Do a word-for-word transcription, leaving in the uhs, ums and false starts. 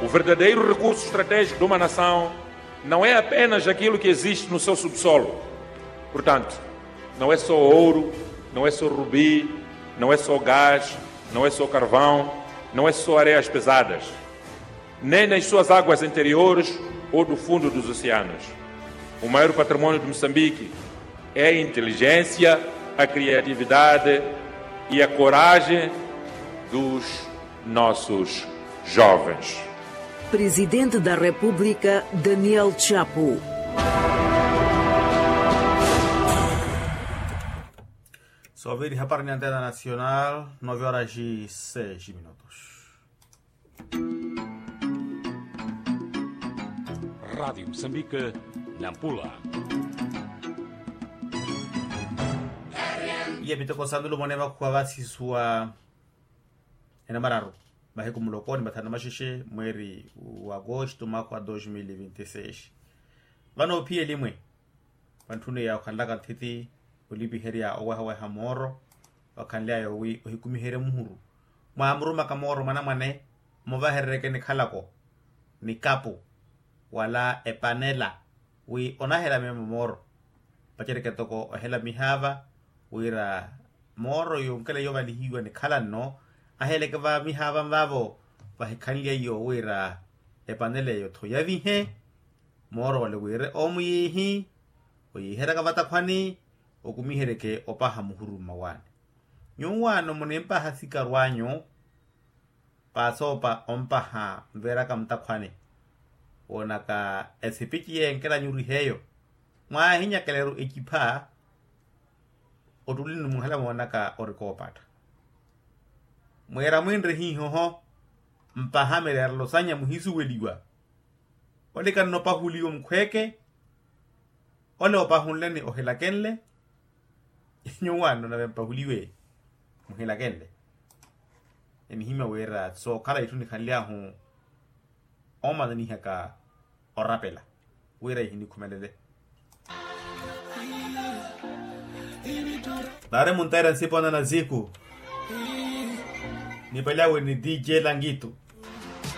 O verdadeiro recurso estratégico de uma nação não é apenas aquilo que existe no seu subsolo. Portanto, não é só ouro, não é só rubi, não é só gás, não é só carvão, não é só areias pesadas, nem nas suas águas interiores ou do fundo dos oceanos. O maior patrimônio de Moçambique é a inteligência, a criatividade e a coragem dos nossos jovens. Presidente da República, Daniel Chapo. Soviri hapari ni antena nacional, nove horas e seis minutos. Rádio Moçambique, Nampula. Iye miteko sandu lumone makhuwa vasiswa enamararu, mahiku muloko ni mathanu na maxexe, mweeri wa agosto, mwaakha wa dos mil e vinte e seis. Vano ophiya elimwe, vantthuni ya okhanlaka nthiti, olipiherya owehaweha mooro, vakhanly'aya wi ohikumiherye muhuru, mwaamurumaka mooro mwanamwane, muvahereryeke nikhalako, nikapu, wala epanela, wi onahela meemo mooro. Paceryeke ntoko ohela mihaava, wira mooro yonkela yovalihiwa nikhala nno, aheleke va mihaava nvaavo, vahikhanlya iyo wira epanela eyo-tho yavihe, mooro wale wire omuyiihi, oyiiheryaka vatakhwani, okumiheryeke opaha muhuru mmawaani. Nyuwaano munimpaha sikaru anyu, paasoopa ompaha nveeraka mutakhwani, woonaka esipiciye enkela nyuriheyo, mwaahinyakeleru ecipha, ottulini muhala moonaka ori koopatta. Mwiira mwinre hiihoho, mpaha mireerelo sanya muhisuweliwa, ole kannopahuliwa mukhweeke, ole opahunleni ohilakenle. Nyuwaano nave mpahuliwe muhilakenle. Enihimya wira sookhala itthu nikhanly'ahu omananihaka orapela wira ihinikhumelele. Naari muntaira nsipona na ziku, nipalyawe ni dj langitu.